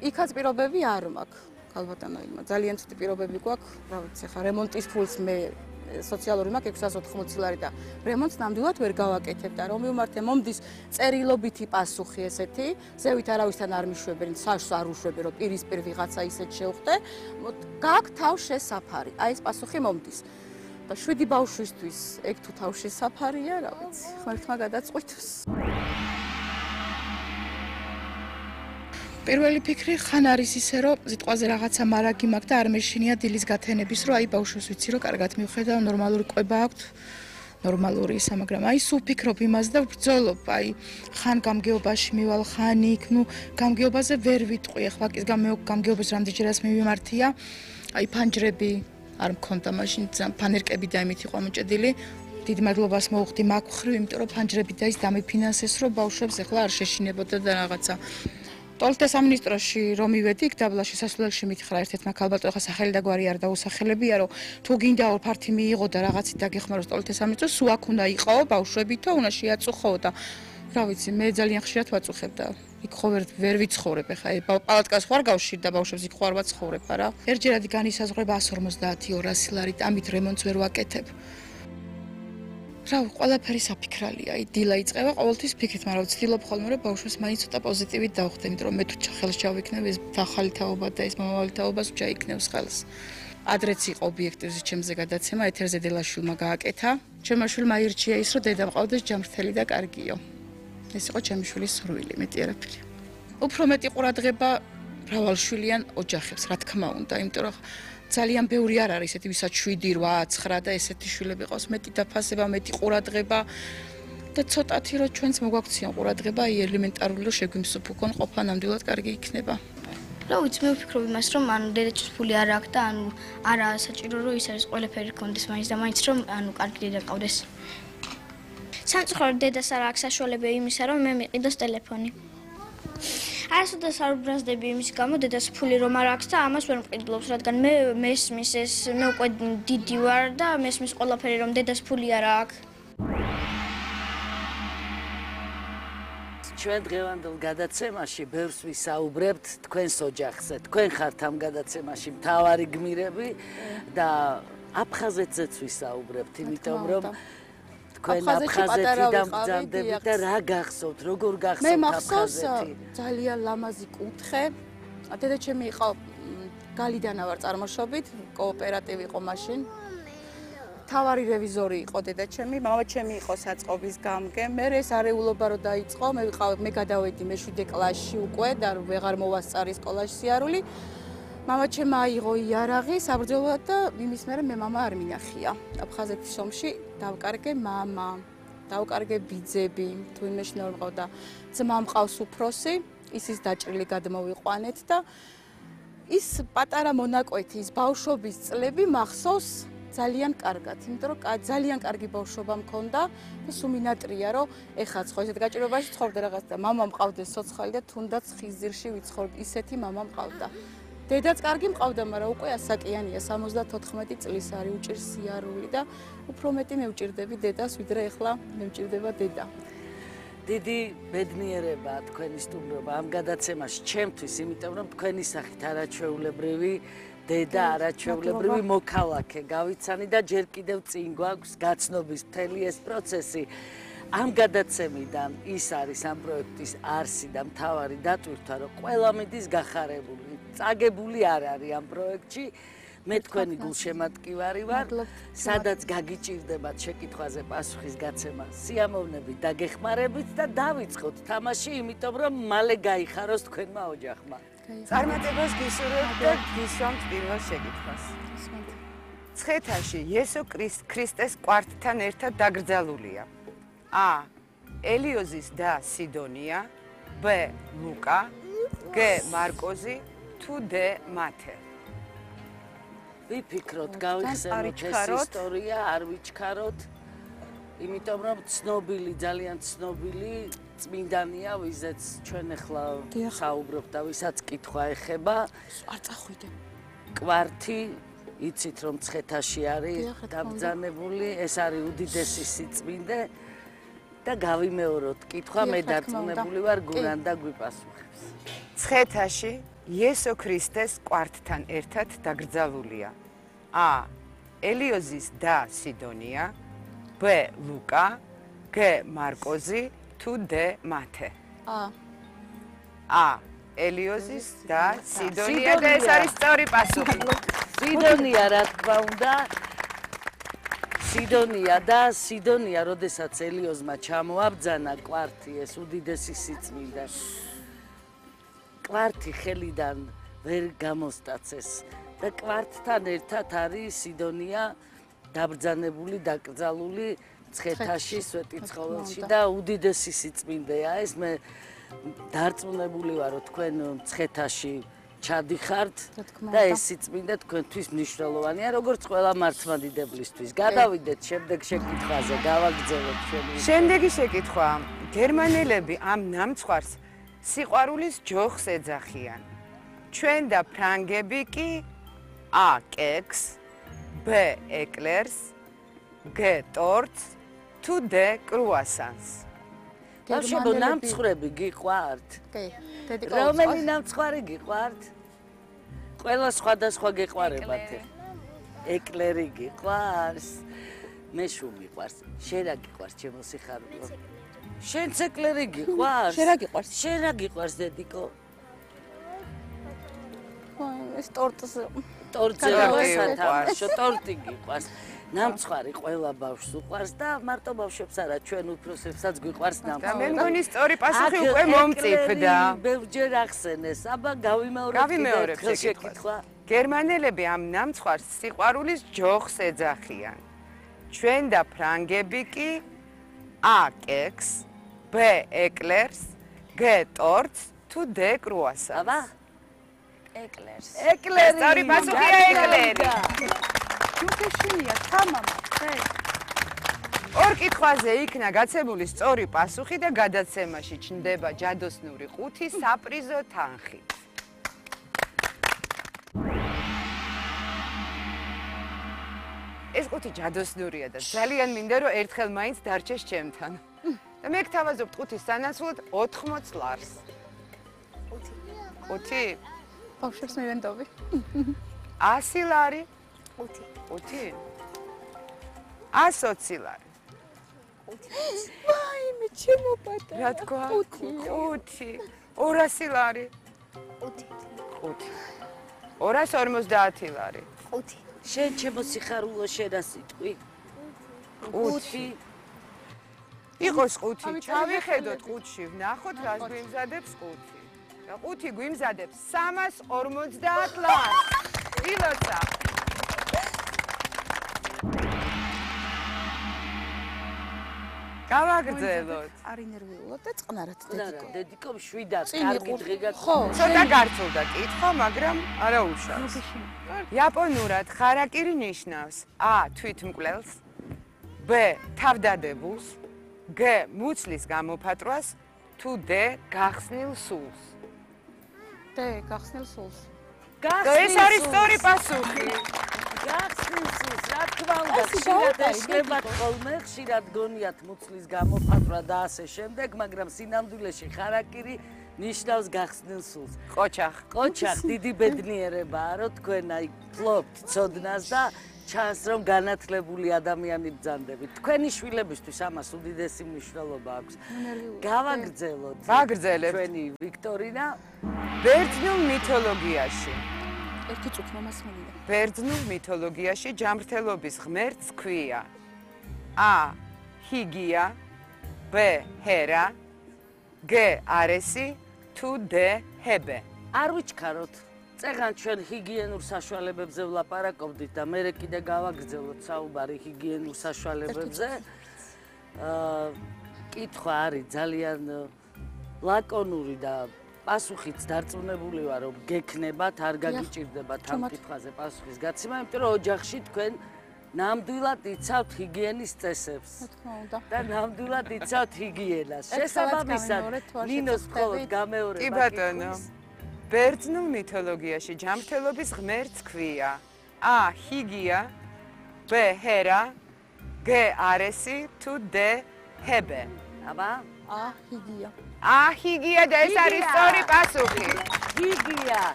იქაც პირობები არ მაქვს. ალბათანო იმა ძალიან ცუდი პირობები გვაქვს, რა ვიცი, ხა რემონტის ფულს მე სოციალური მაქვს 680 ლარი და რემონტს ნამდვილად ვერ გავაკეთებ და რომ მივმართე მომდის წერილობითი პასუხი ესეთი, ზევით არავისთან არ მიშვებენ, საშს არ უშვები რომ პირისპირ ვიღაცა ისეთ შევხვდე, გაქვს თავშესაფარი. აი ეს პასუხი მომდის. და 7 ბავშვისთვის ეგ თუ თავშესაფარია, რა ვიცი, ღმერთმა გადაწყვიტოს. პირველი ფიქრი ხან არის ისე რომ სიტყვაზე რაღაცა მარაგი მაქვს და არ მეშინია დილის გათენების რომ აი ბავშვს ვიცი რომ კარგად მივხედავ ნორმალური ყვება აქვს ნორმალური ისა მაგრამ აი სულ ფიქრობ იმას და ბრძოლობ აი ხან გამგეობაში მივალ ხან იქ ნუ გამგეობაზე ვერ ვიტყვი ახლა ის გამგეობის რამდენჯერაც მივიმართია აი ფანჯრები არ მქონდა მაშინ ფანერკები და იმით იყო მოჭედილი დიდ მადლობას მოუხდი მაგ ხრივ იმიტომ რომ ფანჯრები და ის დამიფინანსეს რომ ბავშვებს ახლა არ შეშინებოდა და რაღაცა ტოლტე სამინისტროში რომ მივედი იქ დაბლაში სასულელში მითხრა ერთ-ერთმა ქალბატონმა ხა სახელი და გვარი არ დაუსახელებია რომ თუ გინდა ფართი მიიღო და რაღაცით დაგეხმაროს ტოლტე სამინისტროს სულ აქ უნდა იყაო ბავშვებითო უნდა შეაწუხო და რა ვიცი მე ძალიან ხშირად ვაწუხებ და იქ ხო ვერ ვიცხოვრებ ხა პალატკას ხوار გავშირდა ბავშვებს იქ ხوار ვაცხოვრებ არა ერთჯერადი განისაზღვრება 150-200 ლარი ამით რემონტს ვერ ვაკეთებ რა ყველაფერი საფიქრალია, აი დილა იწყება ყოველთვის ფიქრით, მაგრამ ვცდილობ ხოლმე რომ ბავშვებს მაინც ცოტა პოზიტივით დავხდე, იმიტომ რომ მე თუ ხელს ჩავიქნებ ეს ახალი თაობა და ეს მომავალი თაობას ჩაიქნევს ხელს. ადრეც იყო ობიექტივზე ჩემზე გადაცემა, ეთერზე დილაშვილმა გააკეთა. ჩემმა შვილმა აირჩია ის, რომ დედა მყავდეს ჯამრთელი და კარგიო. ეს იყო ჩემი შვილის სურვილი, მეტი არაფერი. უფრო მეტი ყურადღება მრავალშვილიან ოჯახებს, რა თქმა უნდა, იმიტომ რომ ძალიან ბევრი არ არის ესეთი ვისაც 7, 8, 9 და ესეთი შვილები ყავს მეტი დაფასება, მეტი ყურადღება და ცოტათი რომ ჩვენც მოგვაქციან ყურადღება, აი ელემენტარული რომ შეგვიმსუბუქონ ყოფა ნამდვილად კარგი იქნება. რა ვიცი, მე ვფიქრობ იმას, რომ ანუ დედაჩის ფული არ აქვს და ანუ არა საჭირო რომ ის არის ყველაფერი გქონდეს მაინც და მაინც რომ ანუ კარგი დედა ყავდეს. სამწუხაროდ დედას არ აქვს საშუალება იმისა, რომ მე მიყიდოს ტელეფონი. არასოდეს არ უბრაზდები იმის გამო დედას ფული რომ არ აქვს და ამას ვერ მყიდულობს, რადგან მე მესმის ეს მე უკვე დიდი ვარ და მესმის ყველაფერი რომ დედას ფული არ აქვს. ჩვენ დღევანდელ გადაცემაში ბევრს ვისაუბრებთ თქვენს ოჯახზე. თქვენ ხართ ამ გადაცემაში მთავარი გმირები და აფხაზეთზეც ვისაუბრებთ, იმიტომ რომ თქვენ აფხაზეთიდან ბრძანდებით და რა გახსოვთ, როგორ გახსოვთ აფხაზეთი? მე მახსოვს ძალიან ლამაზი კუთხე. დედაჩემი იყო გალიდანა ვარ წარმოშობით, კოოპერატივი იყო მაშინ. თავარი რევიზორი იყო დედაჩემი, მამაჩემი იყო საწყობის გამგე. მე ეს არეულობა რო დაიწყო, მე გადავედი მე-7 კლასში უკვე და ვეღარ მოვასწარი სკოლაში სიარული. მამაჩემმა აიღო იარაღი საბრძოლოდ და იმის მერე მე მამა არ მინახია. აფხაზეთის ომში დავკარგე მამა, დავკარგე ბიძები, თუ იმეში ნორ მყავდა. ძმა მყავს უფროსი, ისის დაჭრილი გადმოვიყვანეთ და ის პატარა მონაკვეთი, ის ბავშვობის წლები მახსოვს ძალიან კარგად, იმიტომ რომ ძალიან კარგი ბავშვობა მქონდა და სუმინატრია რომ ეხაც ხო ესეთ გაჭირვებაში ცხოვრობდა რაღაც და მამა მყავდეს ცოცხალი და თუნდაც ხიზირში ვიცხოვრობ, ისეთი მამა მყავდა. დედაც კარგი მყავდა, მაგრამ უკვე ასაკიანია, 74 წლის არის, უჭირს სიარული და უფრო მეტი მე ვჭირდები დედას, ვიდრე ახლა მე ვჭირდება დედა. დიდი ბედნიერება თქვენი სტუმრობა ამ გადაცემაში ჩემთვის, იმიტომ რომ თქვენი სახით არაჩვეულებრივი დედა, არაჩვეულებრივი მოქალაქე გავიცანი და ჯერ კიდევ წინ გვაქვს გაცნობის მთელი ეს პროცესი. ამ გადაცემიდან ის არის ამ პროექტის არსი და მთავარი დატვირთვა, რომ ყველა მიდის გახარებული. წაგებული არ არის ამ პროექტში. მე თქვენი გულშემატკივარი ვარ, სადაც გაგიჭირდებათ შეკითხვაზე პასუხის გაცემა სიამოვნებით და გეხმარებით და დავიწყოთ თამაში, იმიტომ რომ მალე გაიხაროს თქვენმა ოჯახმა. წარმატებას გისურვებთ და გისვამთ პირველ შეკითხვას. მცხეთაში იესო ქრისტეს კვართთან ერთად დაკრძალულია. A. ელიოზის და სიდონია, B. ლუკა, G. მარკოზი, თუ D. მათე. ვიფიქროთ, გავიხსენოთ ეს ისტორია, არ ვიჩქაროთ, იმიტომ რომ ცნობილი, ძალიან ცნობილი წმინდანია, ვიზეც ჩვენ ახლა საუბრობთ და ვისაც კითხვა ეხება. არ წახვიდე. კვართი, იცით რომ მცხეთაში არის დაბრძანებული, ეს არის უდიდესი სიწმინდე და გავიმეოროთ კითხვა, მე დარწმუნებული ვარ გურანდა გვიპასუხებს. მცხეთაში იესო ქრისტეს კვართთან ერთად დაკრძალულია? A. ელიოზის და სიდონია, B. ლუკა, G. მარკოზი, თუ D. მათე? A. ელიოზის და სიდონია და ეს არის სწორი პასუხი. სიდონია, რა თქმა უნდა. სიდონია, როდესაც ელიოზმა ჩამოაბძანა კვართი, ეს უდიდესი სიწმინდა. კვართი ხელიდან ვერ გამოსტაცეს და კვართთან ერთად არის სიდონია დაბრძანებული, დაკრძალული მცხეთაში, სვეტიცხოველში და უდიდესი სიწმინდეა ეს. მე დარწმუნებული ვარ, რომ თქვენ მცხეთაში ჩადიხართ და ეს სიწმინდე თქვენთვის მნიშვნელოვანია, როგორც ყველა მართლმადიდებლისთვის. გადავიდეთ შემდეგ შეკითხვაზე, გავაგრძელოთ ჩვენი. შემდეგი შეკითხვა. გერმანელები ამ ნამცხვარს სიყვარულის ჯოხს ეძახიან. ჩვენ და ფრანგები კი A. კექს, B. ეკლერს, G. ტორტს, თუ D. კრუასანს? ბავშვებო, ნამცხრები გიყვართ? კი, დედი რომელი ნამცხვარი გიყვართ? ყველა სხვადასხვა გიყვარებათ. ეკლერი გიყვარს, მე შუ მიყვარს. შენ რა გიყვარს, ჩემო სიხარულო? შენც ეკლერი გიყვარს? შენ რა გიყვარს? შენ რა გიყვარს, დედიკო? ეს ტორტზე. ტორტზე ვასათამაშო, ტორტი გიყვარს. ნამცხვარი ყველა ბავშვს უყვარს და მარტო ბავშვებს არა, ჩვენ უფროსებსაც გვიყვარს და ნამცხვარი. მე მგონი სწორი პასუხი უკვე მომწიფდა. ბევრჯერ ახსენეს, აბა გავიმეორებ შეკითხვა. გერმანელები ამ ნამცხვარს სიყვარულის ჯოხს ეძახიან. ჩვენ და ფრანგები კი A. კექს, B. ეკლერს, G. ტორტს, თუ D. კრუასანს? აბა ეკლერს. ეკლერი. სწორი პასუხია ეკლერი. ჯუქეშია, თამამა. ორ კითხვაზე იქნა გაცემული სწორი პასუხი და გადაცემაში ჩნდება ჯადოსნური 5 საპრიზო თანხი. ეს 5 ჯადოსნურია და ძალიან მინდა რომ ერთხელ მაინც დარჩეს ჩემთან. და მე გთავაზობ 5-ის სანაცვლოდ 80 ლარს. 5? ბავშვებს მივენდობი. 100 ლარი? 5. 5? 120 ლარი. 5. ვაიმე, ჩემო პატარა. რა თქვა? 5. 200 ლარი? 5. 5. 250 ლარი. 5. შენ ჩემო სიხარულო შენ რა სიტყვი? 5. იყოს 5. ჩავიხედოთ 5-ში, ვნახოთ რას გვიმზადებს 5. და 5 გვიმზადებს 350 ლარს. ილოცა. გავაგრძელოთ. არ ინერვიულად და წყნარად რა, დედიკო. დედიკო მშვიდად, კარგი დღე ხო, ცოტა გარწულდა კითხვა, მაგრამ არა უშავს. იაპონურად ხარაკირი ნიშნავს A. თვითმკვლელს, B. თავდადებულს, G. მუცლის გამოფატრვას, თუ D. გახსნილ სულს. დე, გახსნილ სულს. ეს არის სწორი პასუხი. გახსნილს, რა თქმა უნდა, ხშირად ეშებათ ხოლმე, ხშირად გონიათ მუცლის გამოფატვა და ასე შემდეგ, მაგრამ სინამდვილეში ხარაკირი ნიშნავს გახსნილ სულს. ყოჩახ, დიდი ბედნიერებაა, რომ თქვენ აი ფლობთ ცოდნას და ჩანს, რომ განათლებული ადამიანი ბრძანდებით. თქვენი შვილებისთვის ამას უდიდესი მნიშვნელობა აქვს. გავაგრძელოთ. ვაგრძელებთ. ჩვენი ვიქტორინა. ბერძნულ მითოლოგიაში. ერთი წუთი მომასმენია. ბერძნულ მითოლოგიაში ჯამრთელობის ღმერთს ქვია A. ჰიგია, B. ჰერა, G. არესი, თუ D. ჰებე. არ ვიჩქაროთ. წეგან ჩვენ ჰიგიენურ საშუალებებზე ვლაპარაკობდით და მე კიდე გავაგრძელოთ საუბარი ჰიგიენურ საშუალებებზე. კითხვა არის ძალიან ლაკონური და პასუხიც დარწმუნებული ვარ, რომ გექნებათ, არ გაგიჭირდებათ ამ კითხვაზე პასუხის გაცემა, იმიტომ რომ ოჯახში თქვენ ნამდვილად იცავთ ჰიგიენის წესებს. რა თქმა უნდა. და ნამდვილად იცავთ ჰიგიენას. შესაბამისად, ნინოს მხოლოდ გამეორება. კი ბატონო. ბერძნულ მითოლოგიაში ჯამრთელობის ღმერთს ქვია A. ჰიგია, B. ჰერა, G. არესი, თუ D. ჰებე. აბა? A. ჰიგია. A. ჰიგია და ეს არის სწორი პასუხი. ჰიგია.